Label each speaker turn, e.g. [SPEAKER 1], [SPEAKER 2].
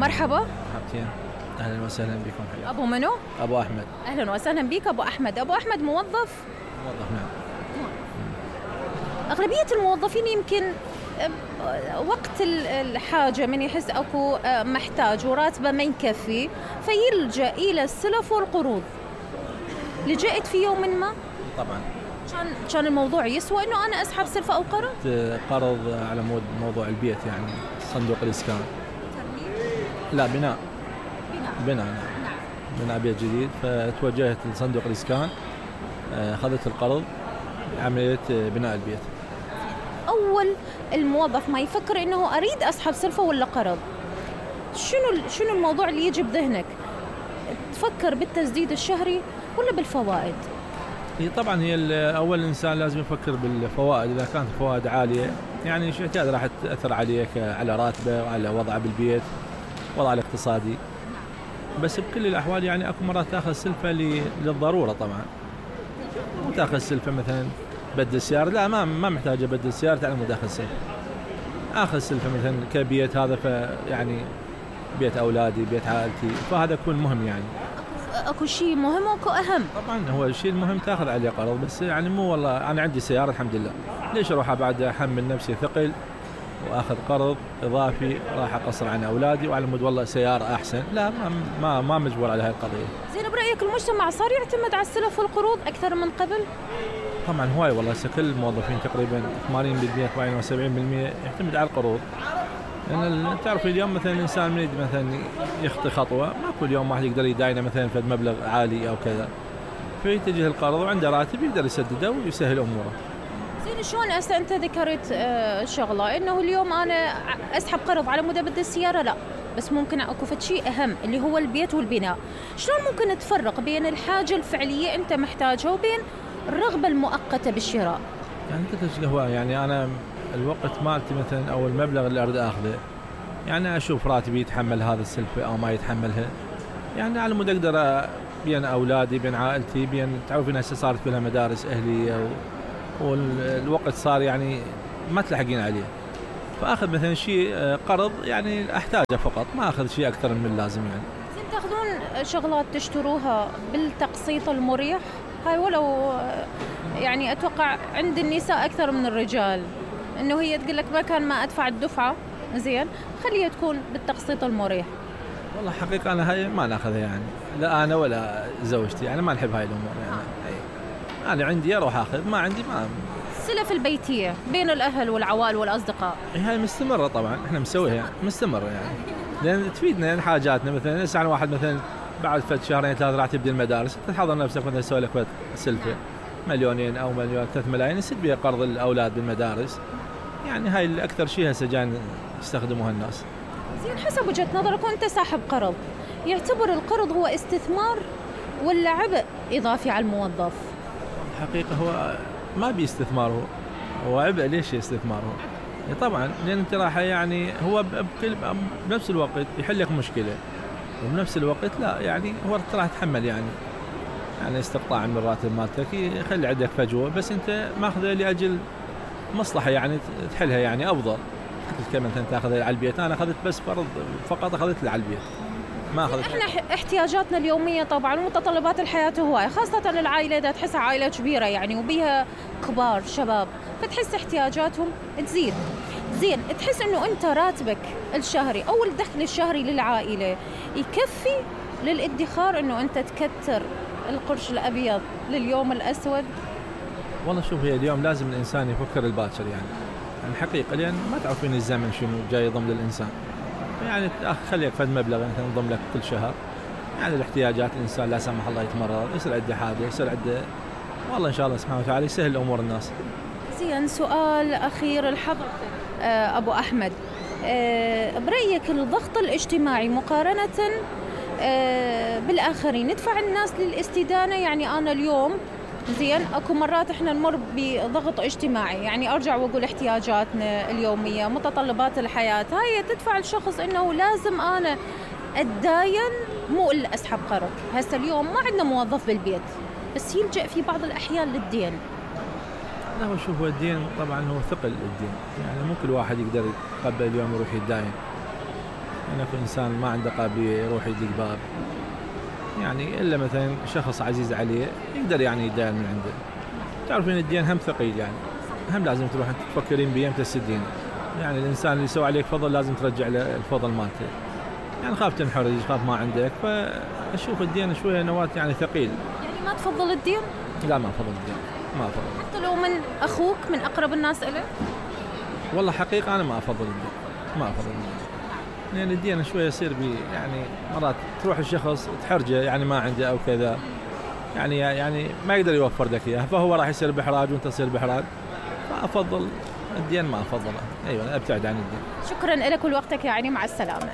[SPEAKER 1] مرحبا.
[SPEAKER 2] مرحبتين، أهلا وسهلا بكم. حياك.
[SPEAKER 1] أبو منو؟
[SPEAKER 2] أبو أحمد.
[SPEAKER 1] أهلا وسهلا بك أبو أحمد. أبو أحمد موظف؟
[SPEAKER 2] موظف نعم.
[SPEAKER 1] أغلبية الموظفين يمكن وقت الحاجة من يحس أكو محتاج وراتبه ما يكفي فيلجأ إلى السلف والقروض. لجأت في يوم ما؟
[SPEAKER 2] طبعا.
[SPEAKER 1] كان الموضوع يسوى إنه أنا أسحب سلفة أو قرض؟
[SPEAKER 2] قرض على مود موضوع البيت يعني صندوق الإسكان. لا بناء. نعم. بناء بيت جديد، فتوجهت لصندوق الإسكان، أخذت القرض عملية بناء البيت.
[SPEAKER 1] أول الموظف ما يفكر إنه أريد أسحب سلفة ولا قرض، شنو الموضوع اللي يجي بذهنك؟ تفكر بالتسديد الشهري ولا بالفوائد؟
[SPEAKER 2] طبعا هي أول إنسان لازم يفكر بالفوائد. إذا كانت الفوائد عالية يعني شيء راح تأثر عليك على راتبه وعلى وضعه بالبيت، وضعه الاقتصادي. بس بكل الأحوال يعني أكو مرات تأخذ سلفة للضرورة طبعا، وتأخذ سلفة مثلا بدل السيارة، لا ما محتاج أبدل السيارة على مود أخذ سلفة. أخذ سلفة مثلا كبيت، هذا يعني بيت أولادي بيت عائلتي، فهذا يكون مهم يعني.
[SPEAKER 1] أكو شيء مهم وأكو أهم.
[SPEAKER 2] طبعا هو الشيء المهم تأخذ عليه قرض، بس يعني مو والله أنا عندي سيارة الحمد لله، ليش أروح بعد أحمل نفسي ثقل وأخذ قرض إضافي راح أقصر عن أولادي وعلى مود والله سيارة أحسن؟ لا، ما مجبور على هاي القضية.
[SPEAKER 1] زين، برأيك المجتمع صار يعتمد على السلف والقروض أكثر من قبل؟
[SPEAKER 2] طبعا هواي والله، كل الموظفين تقريبا 80% 70% يعتمد على القروض. لأن تعرف اليوم مثلا الإنسان من مثلا يخطي خطوة، ما كل يوم واحد يقدر يداينه مثلا في مبلغ عالي أو كذا، فيتجه القرض وعنده راتب يقدر يسدده ويسهل أموره.
[SPEAKER 1] زين، شلون هسه أنت ذكرت شغلة إنه اليوم أنا أسحب قرض على مود أبدل السيارة، لا بس ممكن أكو شيء أهم اللي هو البيت والبناء. شلون ممكن تفرق بين الحاجة الفعلية أنت محتاجها وبين الرغبة المؤقتة بالشراء؟
[SPEAKER 2] يعني كنت هو يعني أنا الوقت مالتي مثلا أو المبلغ اللي أريد أخذه، يعني أشوف راتبي يتحمل هذا السلفة أو ما يتحملها، يعني على مود أقدر بين أولادي بين عائلتي بين، تعرفين هسه صارت كلها مدارس أهلية والوقت صار يعني ما تلحقين عليه، فأخذ مثلا شيء قرض يعني أحتاجه فقط، ما أخذ شيء أكثر من اللازم يعني.
[SPEAKER 1] زين، تاخذون شغلات تشتروها بالتقسيط المريح؟ هاي ولو يعني أتوقع عند النساء أكثر من الرجال، إنه هي تقول لك مكان ما أدفع الدفعة زين خليها تكون بالتقسيط المريح.
[SPEAKER 2] والله حقيقة أنا هاي ما ناخذها يعني، لا أنا ولا زوجتي يعني ما نحب هاي الأمور يعني. أنا عندي أروح أخذ، ما عندي ما.
[SPEAKER 1] السلف البيتية بين الأهل والعوائل والأصدقاء
[SPEAKER 2] هاي مستمرة طبعا، إحنا مسويها يعني مستمرة يعني، لأن تفيدنا يعني حاجاتنا. مثلا يسعى واحد مثلا بعد فت شهرين ثلاثة راح تبدي المدارس، تحضر نفسك مثلا تسوي لك سلفة 2 أو 3 ملايين يسد بها قرض الأولاد بالمدارس، يعني هاي الأكثر شيء هسه جايين يستخدموها الناس.
[SPEAKER 1] زين، حسب وجهة نظرك وأنت صاحب قرض، يعتبر القرض هو استثمار ولا عبء إضافي على الموظف؟
[SPEAKER 2] الحقيقة هو ما بيستثماره، هو عبء. ليش استثماره؟ طبعا لأن انت راح يعني هو بنفس الوقت يحل لك مشكلة، وبنفس الوقت لا يعني هو راح تحمل يعني استقطاع من الراتب مالتك يخلي عندك فجوة، بس انت ماخذه لأجل مصلحة يعني تحلها يعني أفضل. كمان انت تاخذها على البيت، انا اخذت بس فرض فقط اخذت لي على البيت، ما اخذت.
[SPEAKER 1] احنا احتياجاتنا اليومية طبعا ومتطلبات الحياة هواية، خاصة العائلة اذا تحسها عائلة كبيرة يعني وبيها كبار شباب، فتحس احتياجاتهم تزيد. زين، تحس انه انت راتبك الشهري او الدخل الشهري للعائلة يكفي للادخار انه انت تكتر القرش الابيض لليوم الاسود؟
[SPEAKER 2] والله شوف، هي اليوم لازم الانسان يفكر الباكر يعني الحقيقة، لأن ما تعرفين الزمن شنو جاي يضم للإنسان، يعني خليك فد مبلغ مثلا يضم لك كل شهر، يعني الاحتياجات الإنسان لا سمح الله يتمرض يصير عنده حاجة يصير عنده، والله إن شاء الله سبحانه وتعالى يسهل أمور الناس.
[SPEAKER 1] زين، سؤال أخير لحضرتك أبو أحمد، برأيك الضغط الاجتماعي مقارنة بالآخرين يدفع الناس للاستدانة؟ يعني أنا اليوم زين اكو مرات احنا نمر بضغط اجتماعي، يعني ارجع واقول احتياجاتنا اليوميه متطلبات الحياه هاي تدفع الشخص انه لازم انا اتداين مو الا اسحب قرض. هسه اليوم ما عندنا موظف بالبيت بس يلجأ في بعض الاحيان للدين.
[SPEAKER 2] لا هو شوف، هو الدين طبعا هو ثقل الدين، يعني مو كل واحد يقدر يتقبل اليوم يروح يتداين، يعني اكو انسان ما عنده قابليه يروح يدق باب، يعني الا مثلا شخص عزيز عليه يقدر يعني يدان من عنده. تعرفين الدين هم ثقيل، يعني هم لازم تروح تفكرين بيه متى تسدين. يعني الانسان اللي يسوي عليك فضل لازم ترجع له الفضل مالته. يعني خاف تنحرج، خاف ما عندك، فاشوف الدين شويه نواه يعني ثقيل.
[SPEAKER 1] يعني ما تفضل الدين؟
[SPEAKER 2] لا ما افضل الدين، ما افضل.
[SPEAKER 1] حتى لو من اخوك، من اقرب الناس الك؟
[SPEAKER 2] والله حقيقه انا ما افضل الدين، ما افضل الدين. لان الدين شويه يصير بي يعني مرات تروح الشخص تحرجه، يعني ما عنده او كذا، يعني ما يقدر يوفر لك اياه، فهو راح يصير باحراج وانت تصير باحراج. فافضل الدين، ما افضله. ايوه ابتعد عن الدين.
[SPEAKER 1] شكرا لك ولوقتك يا عيني، مع السلامه.